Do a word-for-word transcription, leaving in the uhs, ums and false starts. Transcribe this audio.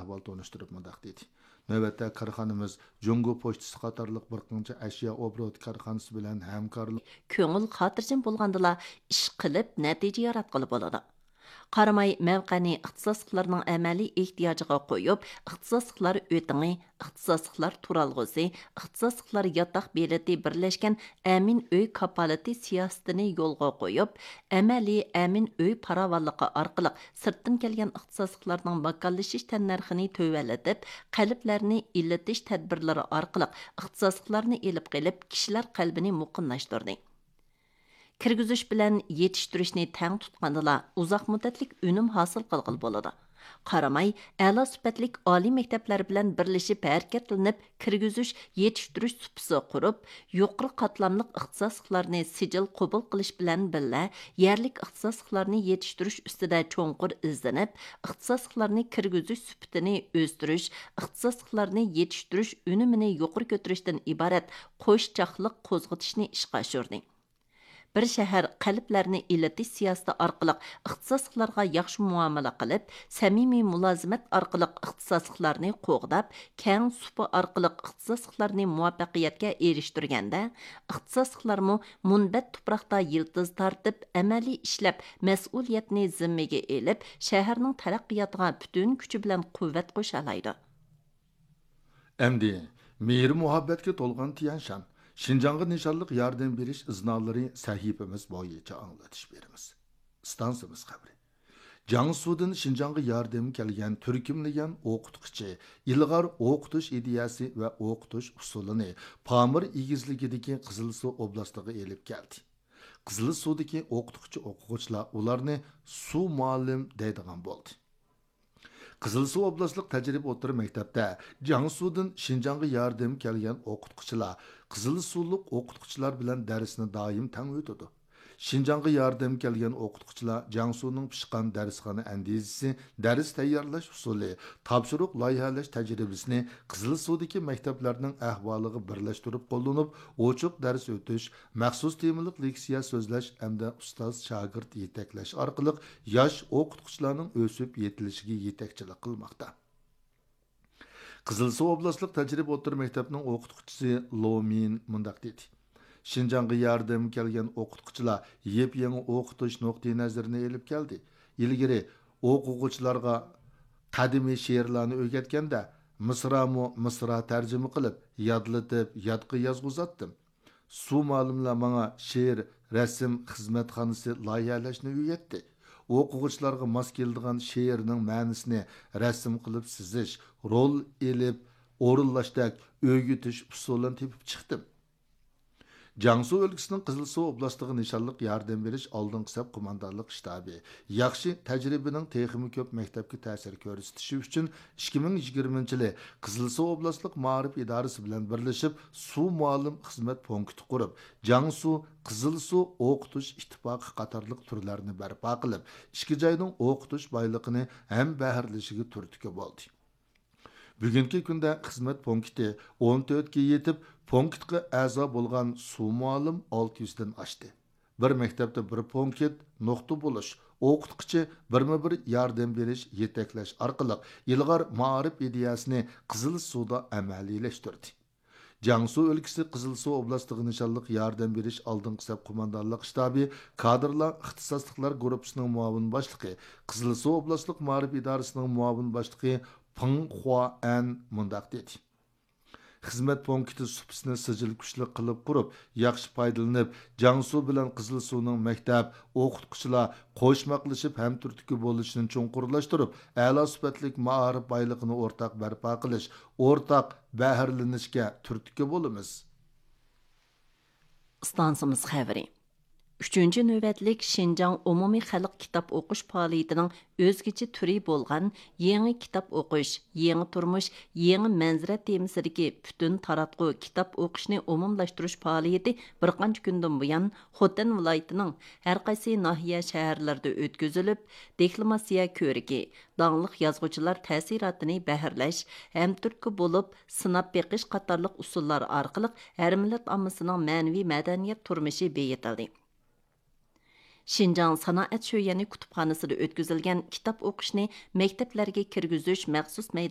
ئەھۋال تونۇشتۇرۇپ مۇنداق دېدى: نۆۋەتتە كارخانىمىز جۇڭگو پوچتىسى قاتارلىق بىر قانچە ئەشيا ئوبوروت كارخانىسى بىلەن ھەمكارلىق. كۆڭۈل خاتىرجەم بولغاندىلا ئىش قىلىپ نەتىجە ياراتقىلى بولىدۇ. قاراماي مەۋقەنى ئىختىساسلىقلارنىڭ ئەمەلىي ئېھتىياجىغا قويۇپ، ئىختىساسلىقلار ئۆتىڭى، ئىختىساسلىقلار تۇرالغۇسى، ئىختىساسلىقلار ياتاق بېلىتى بىرلەشكەن ئەمىن ئۆي كاپالىتى سىياسىتىنى يولغا قويۇپ، ئەمەلىي ئەمىن ئۆي پاراۋانلىقى ئارقىلىق سىرتتىن كەلگەن ئىختىساسلىقلارنىڭ ماكانلىشىش تەننەرخىنى تۆۋەنلىتىپ، قەلبلەرنى ئىللىتىش تەدبىرلىرى ئارقىلىق ئىختىساسلىقلارنى ئېلىپ قېلىپ، كىشىلەر قەلبىنى مۇقىملاشتۇردى. كىرگۈزۈش بىلەن يېتىشتۈرۈشنى تەڭ تۇتقاندىلا، ئۇزاق مۇددەتلىك ئۈنۈم ھاسىل قىلغىلى بولىدۇ. قاراماي ئەلا سۈپەتلىك ئالىي مەكتەپلەر بىلەن بىرلىشىپ ھەرىكەتلىنىپ، كىرگۈزۈش يېتىشتۈرۈش سۇپىسى قۇرۇپ، يۇقىرى قاتلاملىق ئىختىساسلىقلارنى سىجىل قوبۇل قىلىش بىلەن بىللە، يەرلىك ئىختىساسلىقلارنى يېتىشتۈرۈش ئۈستىدە چوڭقۇر ئىزدىنىپ، ئىختىساسلىقلارنى كىرگۈزۈش سۈپىتىنى ئۆستۈرۈش، ئىختىساسلىقلارنى يېتىشتۈرۈش ئۈنۈمىنى يۇقىرى كۆتۈرۈشتىن ئىبارەت قوشچاقلىق قوزغىتىشنى ئىشقا ئاشۇردى. بىر شەھەر قەلبلەرنى ئىللىتىش سىياسىتى ئارقىلىق ئىختىساسلىقلارغا ياخشى مۇئامىلە قىلىپ، سەمىمىي مۇلازىمەت ئارقىلىق ئىختىساسلىقلارنى قوغداپ، كەڭ سۇپا ئارقىلىق ئىختىساسلىقلارنى مۇۋەپپەقىيەتكە ئېرىشتۈرگەندە، ئىختىساسلىقلارمۇ مۇنبەت تۇپراقتا يىلتىز تارتىپ، ئەمەلىي ئىشلەپ، مەسئۇلىيەتنى زىممىگە ئېلىپ، شەھەرنىڭ تەرەققىياتىغا پۈتۈن كۈچى بىلەن قۇۋۋەت قوشالايدۇ. ئەمدى مېھرى مۇھەببەتكە تولغان تيەنشان، شىنجاڭغا نىشانلىق ياردەم بېرىش ئىزنالىرى سەھىپىمىز بويىچە ئاڭلىتىش بېرىمىز. ئىستانسىمىز خەۋىرى. جياڭسۇدىن شىنجاڭغا ياردەم كەلگەن تۈركۈملىگەن ئوقۇتقۇچى ئىلغار ئوقۇتۇش ئىدىيەسى ۋە ئوقۇتۇش ئۇسۇلىنى پامىر ئېگىزلىكىدىكى قىزىلسۇ ئوبلاستىغا ئېلىپ كەلدى. قىزىلسۇدىكى ئوقۇتقۇچى ئوقۇغۇچىلار ئۇلارنى سۇ مۇئەللىم دەيدىغان بولدى. قىزىلسۇ ئوبلاستلىق تەجرىبە ئوتتۇرا مەكتەپتە جياڭسۇدىن شىنجاڭغا ياردەم كەلگەن ئوقۇتقۇچىلار قىزىلسۇلۇق ئوقۇتقۇچىلار بىلەن دەرسنى دائىم تەڭ ئۆتىدۇ. شىنجاڭغا ياردەم كەلگەن ئوقۇتقۇچىلار جياڭسۇنىڭ پىشقان دەرسخانا ئەندىزىسى، دەرس تەييارلاش ئۇسۇلى، تاپشۇرۇق لايىھەلەش تەجرىبىسىنى قىزىلسۇدىكى مەكتەپلەرنىڭ ئەھۋالىغا بىرلەشتۈرۈپ قوللىنىپ، ئوچۇق دەرس ئۆتۈش، مەخسۇس تېمىلىق لېكسىيە سۆزلەش ھەمدە ئۇستاز شاگىرت يېتەكلەش ئارقىلىق ياش ئوقۇتقۇچىلارنىڭ ئۆسۈپ يېتىلىشىگە يېتەكچىلىك قىلماقتا. قىزىلسۇ ئوبلاستلىق تەجرىبە ئوتتۇرا مەكتەپنىڭ ئوقۇتقۇچىسى لو مىن مۇنداق دېدى: شىنجاڭغا ياردەمگە كەلگەن ئوقۇتقۇچىلار يېپيېڭى ئوقۇتۇش نۇقتىئىنەزىرىنى ئېلىپ كەلدى. ئىلگىرى ئوقۇغۇچىلارغا قەدىمىي شېئىرلارنى ئۆگەتكەندە، مىسرامۇ مىسرا تەرجىمە قىلىپ، يادلىتىپ، يادقا يازغۇزاتتىم. سۇ مۇئەللىملەر ماڭا شېئىر، رەسىم خىزمەتخانىسى لايىھەلەشنى ئۆگەتتى. ئوقۇغۇچىلارغا ماس كېلىدىغان شېئىرنىڭ مەنىسىنى رەسىم قىلىپ سىزىش، رول ئېلىپ ئورۇنلاشتەك ئۆگىتىش ئۇسۇلىنى تېپىپ چىقتىم. جياڭسۇ ئۆلكىسىنىڭ قىزىلسۇ ئوبلاستىغا نىشانلىق ياردەم بېرىش ئالدىنقى سەپ قوماندانلىق شتابى ياخشى تەجرىبىنىڭ تېخىمۇ كۆپ مەكتەپكە تەسىر كۆرسىتىشى ئۈچۈن، ئىككى مىڭ يىگىرمىنچى يىلى قىزىلسۇ ئوبلاستلىق مائارىپ ئىدارىسى بىلەن بىرلىشىپ، سۇ مۇئەللىم خىزمەت پونكىتى قۇرۇپ، جياڭسۇ قىزىلسۇ ئوقۇتۇش ئىتتىپاقى قاتارلىق تۈرلەرنى بەرپا قىلىپ، ئىككى جاينىڭ ئوقۇتۇش بايلىقىنى ھەمبەھىرلىشىگە تۈرتكە بولدى. بۈگۈنكى كۈندە خىزمەت پونكىتى ئون تۆتكە يېتىپ، پونكىتقا ئەزا بولغان سۇ مۇئەللىم ئالتە يۈزدىن ئاشتى. بىر مەكتەپتە بىر پونكىت نۇقتا بولۇش، ئوقۇتقۇچى بىرمۇ بىر ياردەم بېرىش، يېتەكلەش ئارقىلىق ئىلغار مائارىپ ئىدىيەسىنى قىزىلسۇدا ئەمەلىيلەشتۈردى. جياڭسۇ ئۆلكىسى قىزىلسۇ ئوبلاستىغا نىشانلىق ياردەم بېرىش ئالدىنقى سەپ قوماندانلىق شتابى كادىرلار ئىختىساسلىقلار گۇرۇپپىسىنىڭ مۇئاۋىن باشلىقى، قىزىلسۇ ئوبلاستلىق مائارىپ ئىدارىسىنىڭ مۇئاۋىن باشلىقى پېڭ خۇا ئەن مۇنداق دېدى: خىزمەت پونكىتى سۇپىسىنى سىجىل كۈچلۈك قىلىپ قۇرۇپ، ياخشى پايدىلىنىپ، جياڭسۇ بىلەن قىزىلسۇنىڭ مەكتەپ، ئوقۇتقۇچىلار قوشماقلىشىپ ھەمتۈرتكە بولۇشىنى چوڭقۇرلاشتۇرۇپ، ئەلا سۈپەتلىك مائارىپ بايلىقىنى ئورتاق بەرپا قىلىش، ئورتاق بەھرىلىنىشكە تۈرتكە بولىمىز. ئىستانسىمىز خەۋىرى. ئۈچىنچى نۆۋەتلىك شىنجاڭ ئومۇمىي خەلق كىتاب ئوقۇش پائالىيىتىنىڭ ئۆزگىچە تۈرى بولغان يېڭى كىتاب ئوقۇش، يېڭى تۇرمۇش، يېڭى مەنزىرە تېمىسىدىكى پۈتۈن تاراتقۇ كىتاب ئوقۇشنى ئومۇملاشتۇرۇش پائالىيىتى بىر قانچە كۈندىن بۇيان خوتەن ۋىلايىتىنىڭ ھەر قايسى ناھىيە، شەھەرلەردە ئۆتكۈزۈلۈپ، دېكلاماتسىيە كۆرىكى، داڭلىق يازغۇچىلار تەسىراتىنى بەھرىلەش، ھەمتۈرتكە بولۇپ سىناپ بېقىش قاتارلىق ئۇسۇللار ئارقىلىق ھەر مىللەت ئاممىسىنىڭ مەنىۋى مەدەنىيەت تۇرمۇشى بېيىتىلدى. شىنجاڭ سانائەت شۆيۈەنى كۇتۇپخانىسىدا ئۆتكۈزۈلگەن كىتاب ئوقۇشنى مەكتەپلەرگە كىرگۈزۈش مەخسۇس مەيدانى